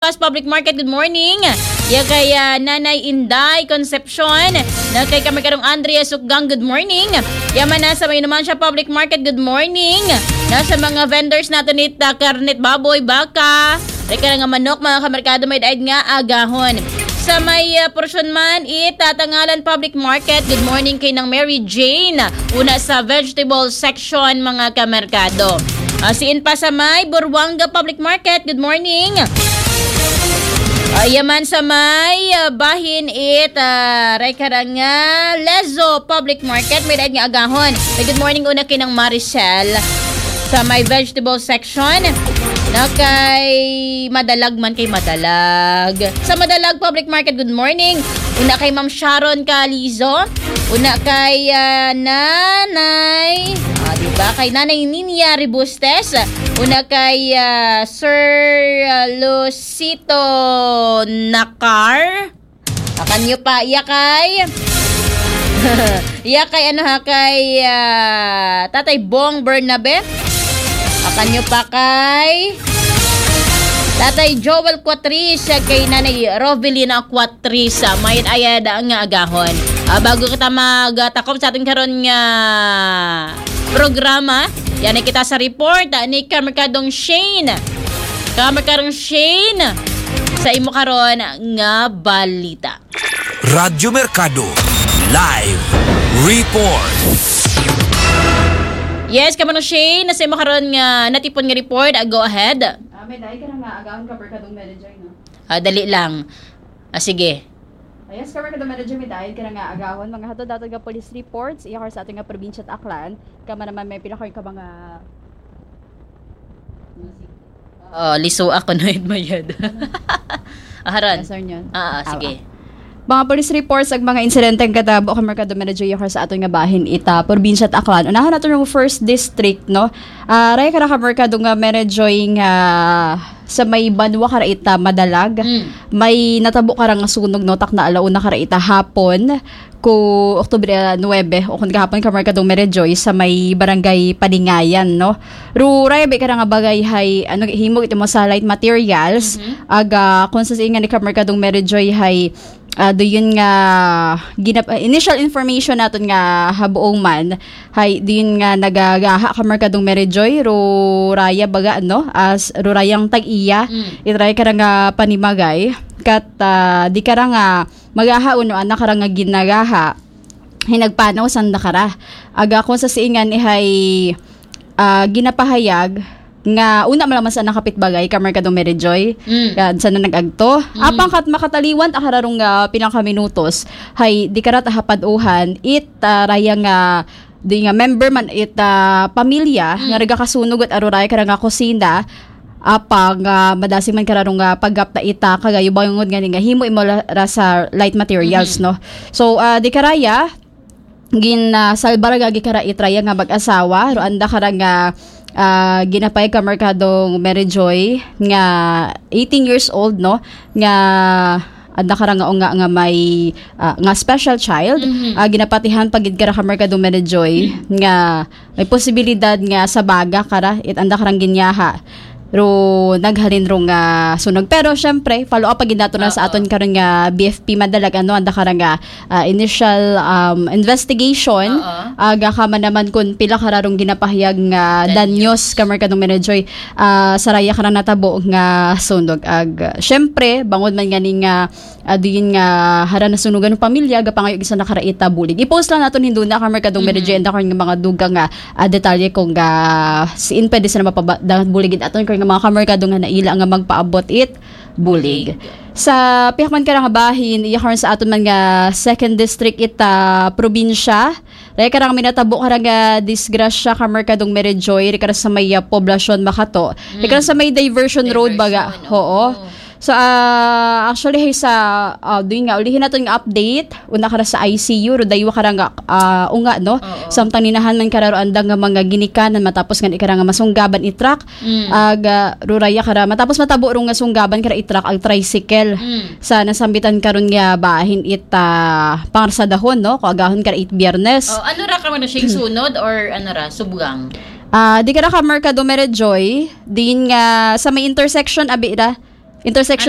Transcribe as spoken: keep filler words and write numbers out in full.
Pas Public Market, good morning. Ya kay ah, Nanay Inday Concepcion, na kay Kamerkadong Andrea Sukgang, good morning. Ya man na sa may Numancia Public Market, good morning. Na sa mga vendors natin it ah, karnet baboy, baka, reka nga manok, mga kamerkado, may daig nga agahon. Sa may ah, porsyon man it ah, Tangalan Public Market, good morning kay nang Mary Jane. Una sa vegetable section, mga kamerkado. Ah, siin pa sa may Buruanga Public Market, good morning. Ah, yaman sa may ah, bahin it ah, reka nga Lezo Public Market, may daig nga agahon. May good morning una kay nang Maricel. Sa may vegetable section, na kay Madalag man kay Madalag. Sa Madalag Public Market, good morning. Una kay Ma'am Sharon Calizo. Una kay ah, Nanay, ah, di ba? Kay Nanay Ninia Ribustes. Una kay ah, Sir ah, Lucito Nakar. Akan nyo pa, iya kay iya kay ano ha, kay ah, Tatay Bong Bernabe. Akan nyo pa kay Tatay Joel Quatris, kay Nanay Rovelina Quatris, ah, mayat ayad nga agahon. Ah, bago kita magtakom sa ating karon nga programa, yan ay kita sa report ah, ni Kamerkadong Shane. Kamerkadong Shane, sa imo karon nga balita. Radyo Merkado, live report. Yes, Kamerkadong Shane, na sa imo karon nga natipon nga report, ah, go ahead. Ah, may dahil ka na nga agaon ka, Merkadong Manager, no? Ah, dali lang. Ah, sige. Ah, yes, Kamerkadong Manager, may dahil ka na nga agahon. Mga hatod-hatod nga police reports, iya kar sa ating nga probinsya at Aklan. Kama naman may pinakar ka mga Oh, liso ako na mayad. Aharon. Yes, sir, yun. Ah, ah, sige. Mga police reports ag mga insidente ang katabo ka Merkado Medyo Yokar sa aton nga bahin ita probinsya at Aklan. Unahan nato yung first district, no? Ah, raya ka na ka Merkado nga Medyo nga sa may banwa ka ita madalag. Mm. May natabo ka nga sunog, no? Takna alauna ka ita hapon ko Oktubre ah, nuwebe, o kung kahapon ka Merkadong Merejoy sa may barangay Palingayan, no? Ruray, ba ka nga bagay hay, ano, himo ito mo sa light materials, Mhm. Aga, kung sa ingan ni ka Merkadong Merejoy hay, ah, do yun nga, ginap, ah, initial information naton nga habuong man, hay, do yun nga nagagaha ka Merkadong Merejoy, ruraya baga, no? As, rurayang tag-iya, Mm. itry ka nga panimagay, kat, ah, di ka nga, magaha uno anak ra nga ginagaha, hinagpanaw sanda kara. Aga kung sa siingan ihay ah, ginapahayag nga una malaman sa nakapit bagay ka Merkado Mary Joy. Mm. Ka, sa na nag-agto. Mm. Apang kat makataliwan ta kararong nga pinakaminutos. Hay, di karat ahapad uhan, it ah, raya nga di nga member man it ah, pamilya Mm. nga nagakasunog at aruraya ka nga kusina, apang ah, madasig man kararong nga paggapta ita kagayo bangod nga ni nga himo imo la- ra sa light materials, Mhm. no? So ah, di karaya gin ah, salbar nga gikara itraya nga mag-asawa ro anda kara nga ah, ginapay ka Merkadong Mary Joy nga eighteen years old, no, nga anda kara nga unga nga may ah, nga special child. Mhm. Ah, ginapatihan pagid kara ka Merkadong Mary Joy nga may posibilidad nga sa baga kara it anda karang ginyaha ro naghalin ro nga sunog. Pero syempre, follow up pagid nato na sa Oo. aton karon nga B F P madalag, ano, anda kara nga ah, initial um, investigation. Oo. Aga ka man naman kung pila kararong ginapahayag nga Danyos. danyos ka Merkadong Manager ah, saraya ka na natabo nga sunog. Ag, syempre, bangod man nga ni nga ah, diin nga hara na sunugan ng pamilya, gapangayo gisa na karaita bulig. I-post lang naton hindo na ka Merkadong Mhm. Manager and ako nga mga dugang nga ah, detalye kung ga siin pwede sila mapaba dangat bulig it aton kay nga mga kamerkado nga naila nga magpaabot it bulig. Bulig. Sa pihak man ka nga bahin, iya karon sa aton man nga second district ita probinsya. Raya ka nga minatabo ka nga disgrasya ka Merkadong Mary Joy, raya ka sa may ah, poblasyon Makato. Raya ka Mm. sa may diversion road baga. Diversion, Oo. oo. So ah, actually hay sa ah, doon nga ulihin naton nga update, una ka sa I C U, ro daywa ka nga ah, unga, no? Oo. Samtang ninahan man kararo andang nga mga ginikanan matapos nga ikara nga masunggaban i-truck. Mm. Ag ah, ruraya kara matapos matabo ro nga sunggaban kara i-truck ag tricycle. Mm. Sa nasambitan karon nga bahin it ah, pangarsadahon, no? Kung agahon kara it Biyernes. Oh, ano ra ka man siya sunod or ano ra, subgang? Ah, di kara ka Merkado Mary Joy, din nga sa may intersection abi ra Intersection